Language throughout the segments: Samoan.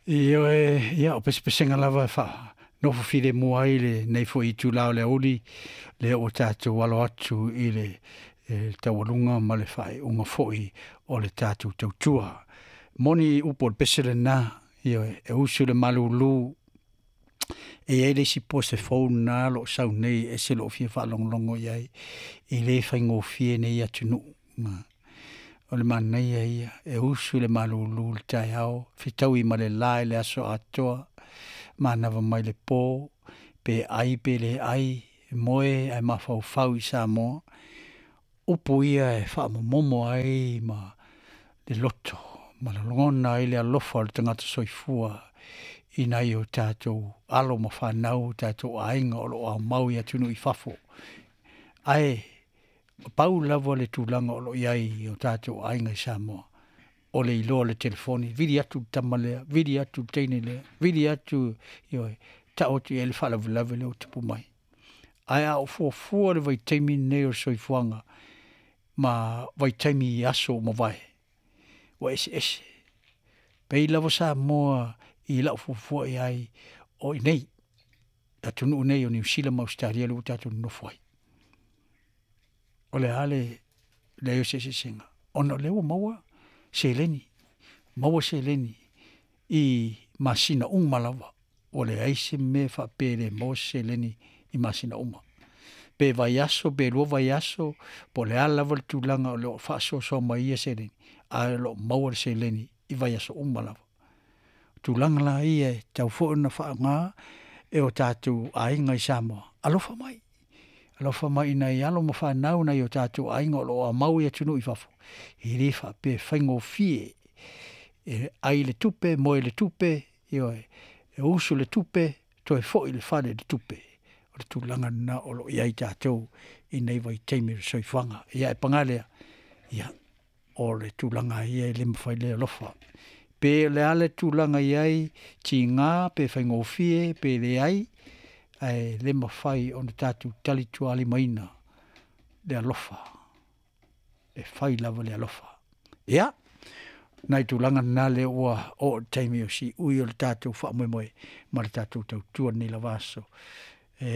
Ioe, ia, o pesepesega lava e faanofo filemu ai lenei foi itulā o le aoauli, lea ua tatou alo atu i le taualuga ma le faaiuga foi o le tatou tautua. Moni upu o le pese lena, ioe, e usu i le malulu. E i ai le isi pose fou lena o lo o sau nei e ese lou fia faalogologo i ai, e le faigofie nei atunuu. O le manaia ia, e usu i le malulu i le taeao, fetaui ma le la i le aso atoa, manava mai le po, pe ai pe le ai, e moe ae mafaufau i Samoa. Upu ia e faamomomo ai ma le loto ma lagona ai le alofa o le tagata soifua i nai o tatou alo ma fanau, o tatou aiga o lo o aumau i atunuu i fafo. Ae pau lava le tulaga o lo o i ai i o tatou aiga i Samoa, o le iloa o le telefoni, vili atu le tama lea, vili atu le teine lea, vili atu, ioe, tau atu i ai le faalavelave lea ua tupu mai. Ae a ou fuafua le vaitaimi lenei o le soifuaga ma vaitaimi i aso ua mavae, ua eseese. Pei lava Samoa i lau fuafua i ai o i inei, atunuu nei o Niu Sila ma Ausetalia lea ua tatou nonofo ai. O le a le leai o se eseesega? Ona o lea ua maua seleni, maua seleni i masina uma lava, ua leai se mea faapea e le maua se seleni i masina uma, pe vaiaso pe lua vaiaso, po o le a lava le tulaga o lo o faasoasoa mai ai ia seleni, ae o lo o maua le seleni i vaiaso uma lava. O tulaga la ia e tatau foi ona faaaoga e o tatou aiga i Samoa, alofa mai, alofa mai i nai alo ma fanau, nai o tatou aiga o lo o aumau i atunuu i fafo, e le faapea e faigofie. E ai le tupe, moe le tupe, ioe, e usu le tupe, toe foi i le fale le tupe. O le tulaga lena o lo o i ai tatou i nei vaitaimi o le soifuaga. Ae paga lea, ia, o le tulaga lava ia e le mafai le alofa. Pe o le a le tulaga e i ai, tiga pe faigofie pe leai, ae le mafai ona tatou talitualimaina le alofa, e fai lava le alofa. Ia, nai tulaga na lea ua oo i le taimi o siui o le tatou faamoemoe ma le tatou tautua i lenei lava aso. E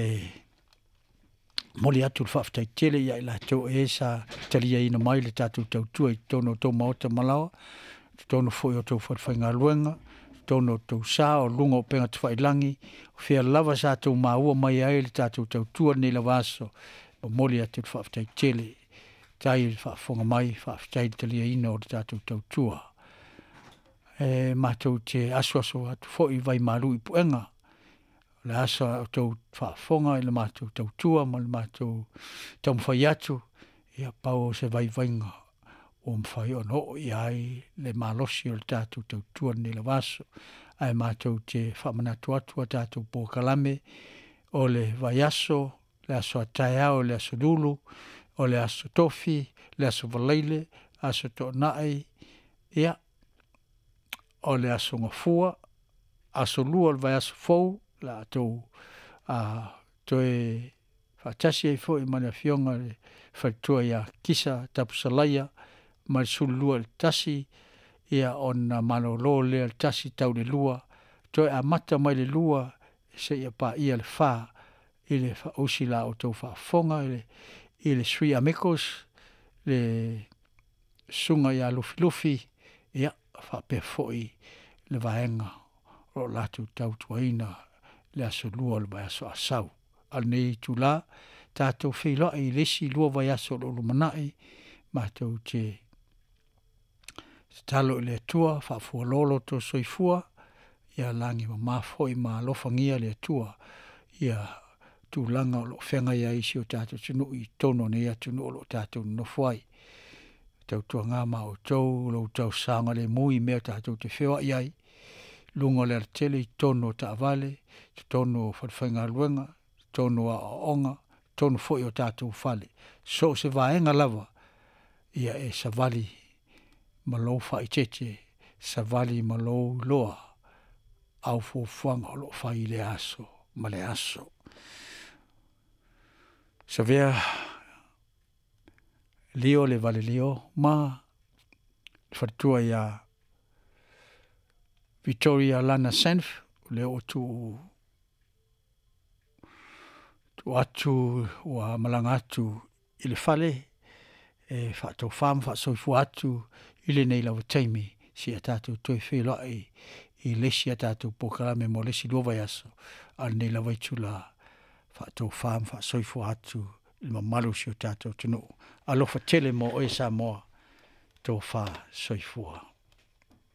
momoli atu le faafetai tele ia i latou o e sa taliaina mai le tatou tautua i totonu o tou maota ma laoa, totonu foi o tou falefaigaluega, totonu o tou sa o luga o upega tafailagi, o fea lava sa outou maua mai ai le tatou tautua i lenei lava aso, e momoli atu le faafetai tele. Faafetai i le faafofoga mai, faafetai i le taliaina o le tatou tautua. E matou te asuasu atu foi vaimalu i puega, o le a sa outou faafofoga i le matou tautua ma le matou taumafai atu, ia pau o se vaivaiga ua mafai ona oo i ai le malosi o le tatou tautua i lenei lava aso. Ae matou te faamanatu atu a tatou polokalame o le vaiaso, le aso a taeao, le aso Lulu, o le aso Tofi, le aso Faraile, aso Toonai, ia, o le aso Gafua, aso Lua o le vaiaso fou, o le a outou toe faatasi ai foi ma le Afioga i le faletua ia Kisa Tapusalaia mai le 12 i le 1, ia ona malolo lea i le 1 tau i le 2, toe amata mai le 2 seia paia le 4 i le faaausi la outou faafofoga i le Sui Amigos, le susuga ia Lufilufi, ia faapea foi le vaega o lo o latou tautuaina le aso Lua o le vaiaso a Sau. A o lenei itula, tatou feiloai i le isi 2 vaiaso o lo o lumanai, matou te tatalo i le Atua faafualo lo outou soifua, ia lagi e mama foi ma alofagia e le Atua tulaga o lo o feagai ai si o tatou atunuu i totonu o nei atunuu o lo o tatou nonofo ai. Tautuana ma outou lo outou saogalemu i mea tatou te feoai ai, luga o le alatele i totonu o taavale, totonu o falefaigaluega, totonu o aoaoga, totonu foi o tatou fale, so o se vaega lava, ia e savali ma lou faaeteete, savali ma lou iloa au fuafuaga o lo o fai i lea aso ma lea aso. Savea Lio le Valelio ma le faletua ia. Victoria Lana Senf, lea ua tuu tuu atu ua malaga atu i le fale e faatofa ma faasoifua atu i lenei lava taimi seia tatou toe feiloai i le isi a tatou polokalame mo le isi 2 vaiaso, a o lenei lava itula, faatofa ma faasoifua atu i le mamalu o si o tatou atunuu. Alofa tele mo oe Samoa, tofa soifua.